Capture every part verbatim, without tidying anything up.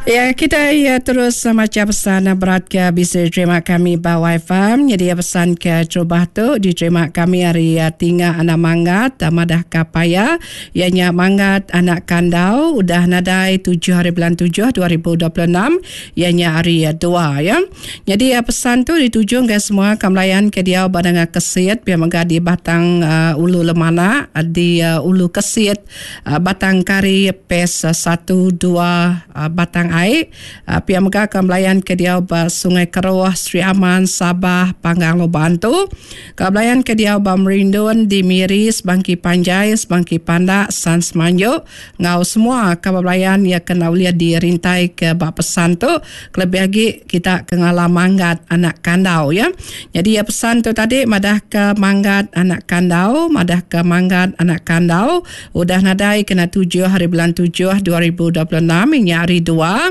Ya, kita ya terus macha pesan berat ke bisi diterima kami ba Wi-Fi. Jadi pesan ke terubah tu diterima kami ari Tinga Anak Manggat madah ka paya iya nya Manggat Anak Kandau udah nadai tujuh hari bulan tujuh dua ribu dua puluh enam iya nya hari dua ya. Jadi pesan tu dituju ngagai semua ka melayan ke diau ba Nanga Kesit pia mega di Batang uh, Ulu Lemanak di uh, Ulu Kesit uh, Batang Kari P E S satu dua uh, Batang Ai uh, pia mega ka melayan ke diau ba Sungai Keruh, Sri Aman, Sabah, Panggang Lubok Antu. Ka belayan ke diau ba Merindun di Miri, Sebangki Panjai, Sebangki Pandak, San Semanjuk ngau semua ka belayan ya kena ulih dirintai ke ba pesan tu, kelebih agi kita ke ngelala Manggat Anak Kandau ya. Jadi ya pesan tu tadi madah ke Manggat Anak Kandau, madah ke Manggat Anak Kandau udah nadai kena tujuh hari bulan tujuh dua ribu dua puluh enam nya hari dua.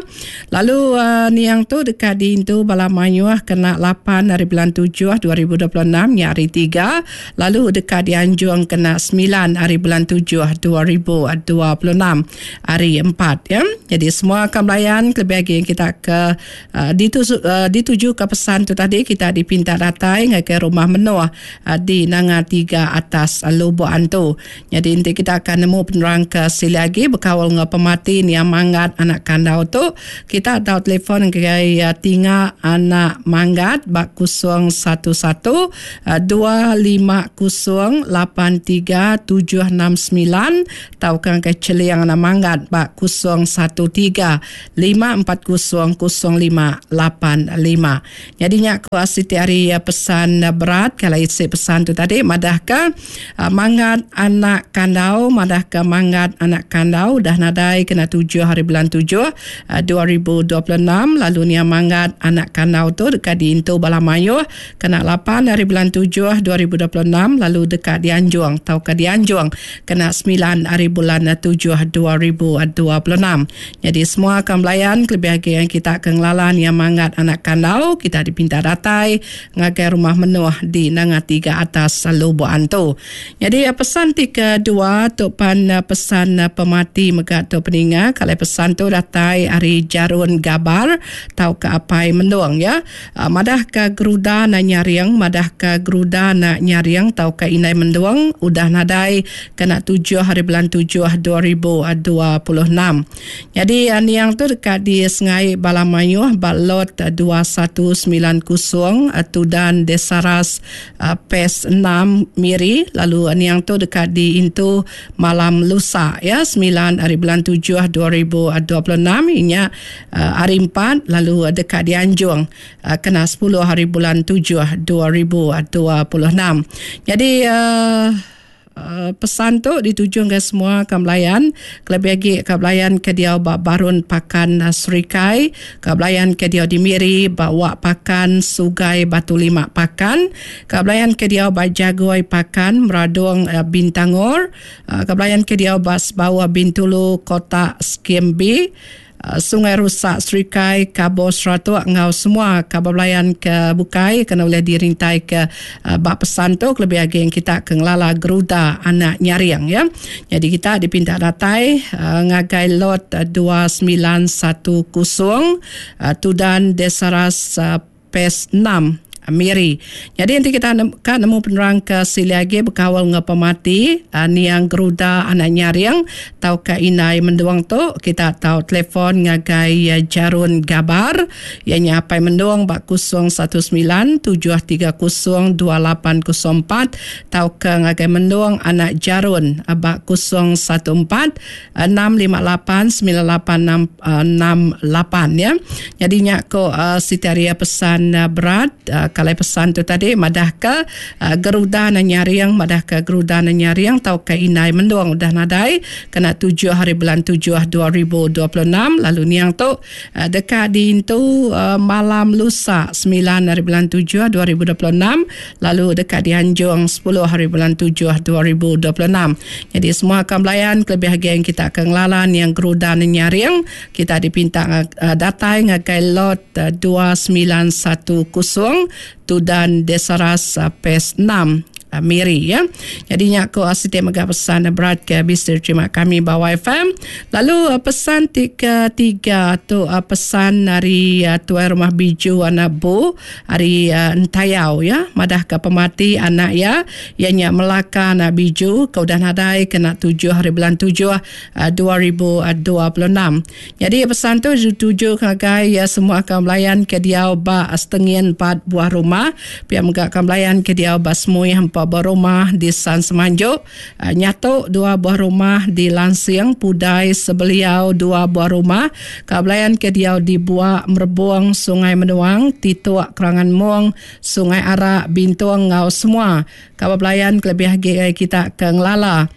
Lalu uh, niang tu dekat diintu bala mayuh kena lapan hari bulan tujuh dua ribu dua puluh enam nya hari tiga, lalu dekat dianjung kena sembilan hari bulan tujuh dua ribu dua puluh enam hari empat ya. Jadi semua akan melayan lebih lagi kita ke uh, dituju, uh, dituju ke pesan tu tadi, kita dipinta datai ke rumah Menoh uh, di Nanga tiga atas uh, Lubok Antu. Jadi nanti kita akan nemu penerang ke sili lagi berkawal dengan pemati niang Manggat Anak Kandau tu. Kita tahu telefon ke uh, Tinga Anak Manggat bak kosong satu satu dua lima kosong lapan tiga tujuh enam sembilan tau kan ke Celiang Anak Manggat bak kosong satu tiga lima empat kosong kosong lima lapan lima. Jadi nyak ku siti hari pesan berat kalau isi pesan tu tadi madah ke Manggat Anak Kandau, madah ke Manggat Anak Kandau dah nadai kena tujuh hari bulan tujuh dua ribu dua puluh enam, lalu nia Manggat Anak Kandau tu dekat diintu bala mayuh kena lapan hari bulan tujuh dua ribu dua puluh enam, lalu dekat dianjung tau ke dianjung kena sembilan hari bulan tujuh dua ribu dua puluh enam. Jadi semua akan belayan lebih lagi yang kita akan ngelala nia Manggat Anak Kandau, kita dipinta datai ngagai rumah Menoh di Nanga tiga atas Lubok Antu. Jadi pesan ti kedua tu pan pesan pemati mega tu peninga, kalau pesan tu datai ari Jarun Gabar tau ke Apai Mendung ya. Madah ke Geruda na nyaring, madah ke Geruda na nyaring tau ke Inai Mendung udah nadai kena tujuh hari bulan tujuh dua ribu dua puluh enam. Jadi niang tu dekat di Sengai Balamayuh Balot dua satu sembilan kosong Tudan Desaras P E S enam Miri, lalu niang tu dekat di Intu malam lusa ya sembilan hari bulan tujuh dua ribu dua puluh enam inya hari empat, lalu dekat di Anjung kena sepuluh hari bulan tujuh dua ribu dua puluh enam. Jadi uh, Uh, pesan tu dituju ke semua ke belayan, kelebih lagi ke belayan ke dia ba Barun Pakan uh, Serikai, ke belayan ke dia di Miri bawa Pakan Sugai Batu Lima Pakan, ke belayan ke dia ba Jagoi Pakan Meradung uh, Bintangor, uh, ke belayan ke dia ba Sebawa Bintulu Kota Skim B, Sungai Rusak Serikai Kabo Seratuk ngau semua kabar belayan ke bukai kena boleh dirintai ke uh, bak pesan tu lebih lagi yang kita ke ngelala Geruda Anak Nyaring ya. Jadi kita dipinta datai uh, ngagai lot dua sembilan satu kosong uh, Tudan Desaras uh, P E S enam Miri. Jadi nanti kita kan nemu penerang ke sili lagi berkawal dengan pemati uh, niang Geruda Anak Nyaring tau ke Inai Menduang tu, kita tahu telefon ngagai uh, Jarun Gabar ianya Apai Menduang bak kosong satu sembilan tujuh tiga kosong dua lapan kosong empat tau ke ngagai Menduang Anak Jarun uh, bak kosong satu empat enam lima lapan sembilan lapan enam enam lapan ya. Jadi nyak ko uh, Siti Aria pesan uh, berat uh, kalau pesan tu tadi madah ke uh, Geruda na nyaring, madah ke Geruda na nyaring tau ke Inai Mendung udah nadai kena tujuh hari bulan tujuh dua ribu dua puluh enam, lalu niang tu uh, dekat diintu uh, malam lusa sembilan hari bulan tujuh dua ribu dua puluh enam, lalu dekat dianjung sepuluh hari bulan tujuh dua ribu dua puluh enam. Jadi semua akan belayan kelebih lagi yang kita akan ngelala niang Geruda na nyaring, kita dipinta uh, datai ngagai lot uh, dua sembilan satu kosong Tudan Desaras P E S enam Miri ya. Jadi nya ko siti mega pesan berat ke bisi terima kami ba Y F M. Lalu pesan ti ketiga tu pesan ari tuai rumah Biju anak Bu ari Entayau ya, madah ke pemati anak ya iya nya Melaka anak Biju ke udah nadai kena tujuh hari bulan tujuh dua ribu dua puluh enam. Jadi pesan tu dituju ngagai ya semua kaum belayan ke diau ba Setengin empat buah rumah, pia mega kaum belayan ke diau ba Semuih empat buah rumah di San Semanjuk, Nyatok dua buah rumah di Lansing, Pudai Sebeliau dua buah rumah, kaum belayan ke diau di Buak, Merebong, Sungai Menuang, Tituk, Kerangan Mong, Sungai Arak, Bintong ngau semua kaum belayan kelebih agi kita ke ngelala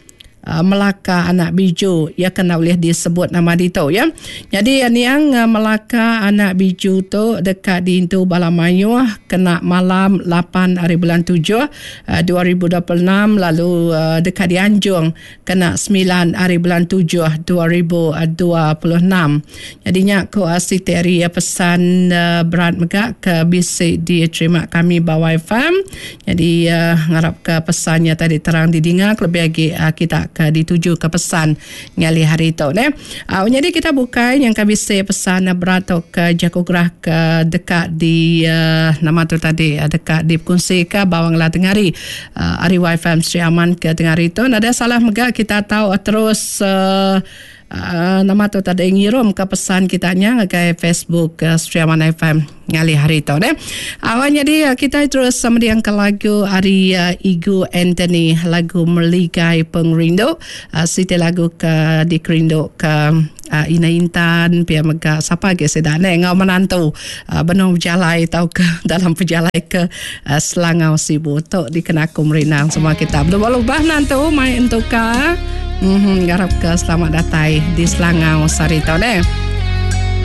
Melaka anak Biju ya kena boleh disebut nama ditu ya. Jadi niang Melaka anak Biju tu dekat diintu bala mayuh kena malam lapan hari bulan tujuh dua ribu dua puluh enam, lalu dekat dianjung kena sembilan hari bulan tujuh dua ribu dua puluh enam. Jadi nya ko siti ari pesan berat mega ke bisi diterima kami ba Y F M. Jadi ngarap ke pesannya tadi terang didinga lebih lagi kita ke dituju ke pesan ngali hari tu ne. Uh, jadi kita bukai yang kami bisi pesan berat atau ke jaku gerah ke dekat di uh, nama tu tadi uh, dekat dikongsi ke bawang lah tengah hari uh, hari Y F M Sri Aman ke tengah hari tu. Nada salah mega kita tahu uh, terus uh, Uh, nama tu tadi ngirum ke pesan kita nya ngagai Facebook uh, Sri Aman F M ngali hari tu ne. Awal jadi uh, kita terus sama dia ke lagu ari uh, Igu Anthony, lagu Meligai Pengerindu, uh, siti lagu ke dikerindu ke uh, Ina Intan pia mega sapa ge seda ne ngau menantu uh, benung berjalai tau ke dalam perjalai ke uh, Selangau Sibu tu dikena aku merinang semua kita. Berlubah-lubah nantu mai entuka. Mhm, ngarap ke selamat datang di Selangau sari tau deh.